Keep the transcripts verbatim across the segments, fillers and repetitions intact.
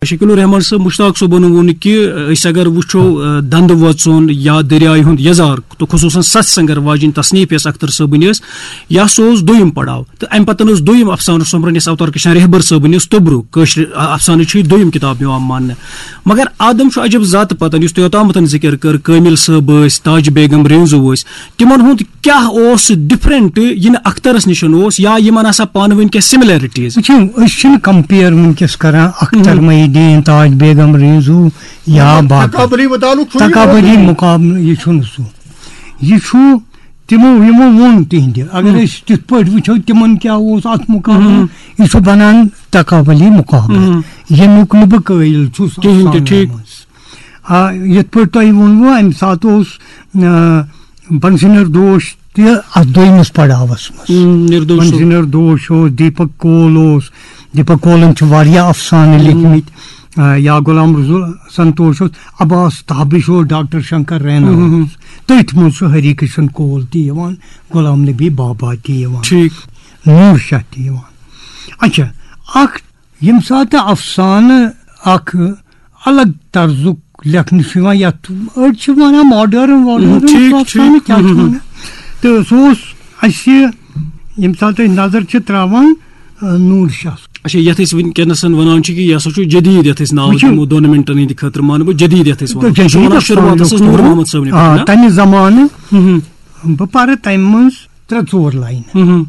شکیل الرحمان صٲب، مشتاق صٲبن ووٚن کہِ أسۍ اگر وٕچھو، آ، دندٕ وۄژُن یا دٔریایہِ ہُنٛد یزار، تہٕ خصوٗصاً ستھ سنگر واجیٚنۍ تصنیف یۄس اختر صٲبٕنۍ ٲس، یا سُہ اوس دوٚیِم پڑاو۔ تہٕ امہِ پتہٕ ٲس دوٚیِم افسانہٕ سومبرن یۄس اوتار کرشن رہبر صٲبٕنۍ ٲس توٚبرُک کٲشرِ افسانٕچ چھِ یہِ دوٚیِم کتاب یِوان ماننہٕ۔ مگر آدم چھُ عجب ذاتہٕ پتن، یُس تۄہہِ اوتامتن ذکر کٔر، کٲمل صٲب ٲسۍ، تاج بیگم رینزو ٲسۍ، تِمن ہُنٛد کیٛاہ اوس ڈفرنٹ یہِ نہٕ اخترس نِش اوس، یا یِمن آسا پانہٕ ؤنۍ کینٛہہ سملیرٹیز؟ وٕچھِو، أسۍ چھِنہٕ کمپیر وٕنکیٚس کران اختر محی الدین، تاج بیگم رینزو یا باقٕے۔ تقابلی مطالعہٕ چھُنہٕ یہِ تقابلی مقابلہٕ، یہِ چھُنہٕ سُہ۔ یہِ چھُ تِمو یِمو ووٚن تِہنٛدِ۔ اگر أسۍ تِتھ پٲٹھۍ وٕچھو، تِمن کیٛاہ اوس اتھ مقابلہٕ، یہِ چھُ بنان تقابلی مقابلہٕ، ییٚمیُک نہٕ بہٕ قٲیِل چھُس کِہیٖنۍ تہِ، افسانن ٹھیٖک۔ منٛز۔ آ، یِتھ پٲٹھۍ تۄہہِ ووٚنوُ، اَمہِ ساتہٕ اوس، آ، بنسِنر دوش تہِ اَتھ دوٚیمِس پڑاوَس منٛز۔ ہم، نِردوش صٲب۔ بنسِنر دوش اوس، دیٖپک کول اوس، دیٖپک کولَن چھِ واریاہ افسانہٕ لیکھمٕتۍ، آ، یا غلام رسول سنتوش اوس، عباس تابش اوس، ڈاکٹر شنکر رینا اوس۔ تٔتھۍ منٛز چھُ ہری کرشن کول تہِ یِوان، غلام نبی بابا تہِ یِوان، ٹھیٖک۔ نوٗر شاہ تہِ یِوان۔ اچھا، اکھ ییٚمہِ ساتہٕ افسانہٕ اکھ الگ طرزُک لیکھنہٕ چھُ یِوان، یَتھ أڑۍ چھِ وَنان ماڈٲرٕن واڈٲرٕن، ٹھیٖک، سُہ افسانہٕ ٹھیٖک۔ کیٛاہ چھُ وَنان؟ تہٕ سُہ اوس اَسہِ، ییٚمہِ ساتہٕ أسۍ نظر چھِ ترٛاوان، آ، نوٗر شاہ۔ اچھا، یَتھ أسۍ وٕنکیٚنَس وَنان چھِ کہِ یہِ ہسا چھُ جدیٖد، یَتھ أسۍ ناو وٕچھِو۔ دِمو دۄن مِنٹَن ہٕنٛدِ خٲطرٕ، مانہٕ بہٕ جدیٖد، یَتھ أسۍ وَنان چھِ۔ تہٕ سُہ جدیٖد وَنان شروٗعاتَس افسانُک ٲس نوٗر نوٗر۔ محمد صٲبنہِ آ، پٮ۪ٹھ، نا؟ تَمہِ زمانہٕ بہٕ پَرٕ تَمہِ منٛز ترٛےٚ ژور لاینہٕ۔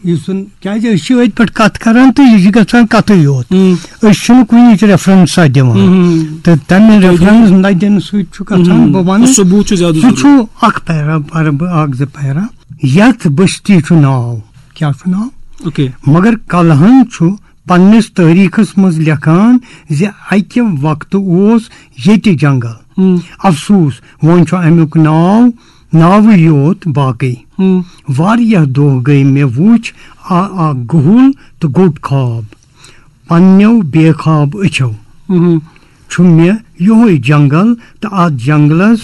یُس زَن، کیٛازِ أسۍ چھِ أتھۍ پٮ۪ٹھ کَتھ کَران تہٕ یہِ چھِ گژھان کَتھٕے یوت۔ أسۍ چھِنہٕ کُنِچ ریفرنسا دِوان۔ تہٕ تَمہِ ریفرنس نہ دِنہٕ سۭتۍ چھُ گژھان، بہٕ وَنہٕ، ثبوٗت چھُ زیادٕ سُہ ضروٗرت۔ چھُ اکھ پیرا، پَرٕ بہٕ اکھ زٕ پیرا۔ یَتھ بستی چھُ ناو، کیٛاہ چھُ ناو؟ اوکے۔ مگر کلہن چھُ پننِس تٲریٖخس منٛز لیکھان زِ اَکہِ وقتہٕ اوس ییٚتہِ جنگل۔ افسوٗس، وۄنۍ چھُ اَمیُک ناو ناوٕے یوت باقٕے۔ واریاہ دۄہ گٔے مےٚ وُچھ آ-، اکھ گُہُل تہٕ گوٚٹ خواب۔ پننیو بے خواب أچھو چھُ مےٚ یِہوٚے جنگل تہٕ اَتھ جنگلس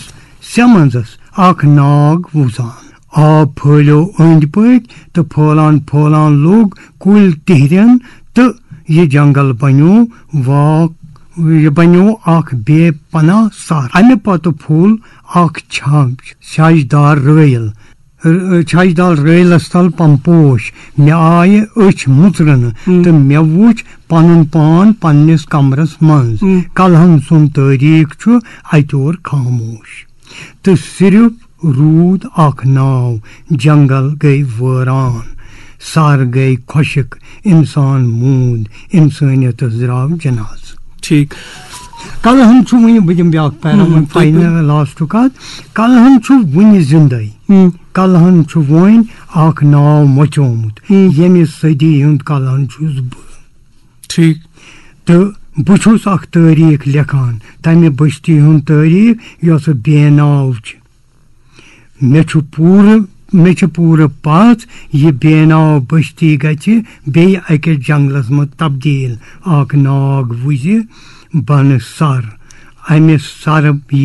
سٮ۪منٛزس اکھ ناگ وُزان۔ آب پھٲلیو أنٛدۍ پٔکۍ تہٕ پھٲلان پھٲلان لوٚگ کُلۍ تِہرٮ۪ن تہٕ یہِ جنگل بنیو واک، یہِ بنیو اکھ بے پناہ سر۔ امہِ پتہٕ پھوٚل اکھ چھاج، چھاجدار رٲیل، ر-، چھاجدار رٲیلس تل پمپوش۔ مےٚ آیہِ أچھ مُژرنہٕ تہٕ مےٚ وُچھ پنُن پان پننِس کمرس منٛز۔ کلہن سُنٛد تٲریٖخ چھُ اتہِ اور خاموش۔ تہٕ صرف روٗد اکھ ناو، جنگل گٔے وٲران، سر گٔے خۄشک، انسان موٗد، انسٲنیتس درٛاو جنازٕ۔ ٹھیٖک۔ کلہن چھُ وُنہِ، بہٕ دِمہٕ بیٛاکھ پیرا، وۄنۍ فاینل لاسٹُک اکھ۔ کلہن چھُ وُنہِ زندے۔ کلہن چھُ وۄنۍ اکھ ناو مۄژیومُت، ییٚمہِ صدی ہُنٛد کلہن چھُس بہٕ۔ ٹھیٖک۔ تہٕ بہٕ چھُس اکھ تٲریٖخ لیکھان، تمہِ بستی ہُنٛد تٲریٖخ یۄسہٕ بے ناو چھِ۔ مےٚ چھُ پوٗرٕ، مےٚ چھِ پوٗرٕ پژھ، یہِ بے ناو بستی گژھِ بیٚیہِ أکِس جنگلس منٛز تبدیٖل۔ اکھ ناگ وُزِ بنہٕ سر، امہِ سرٕ یی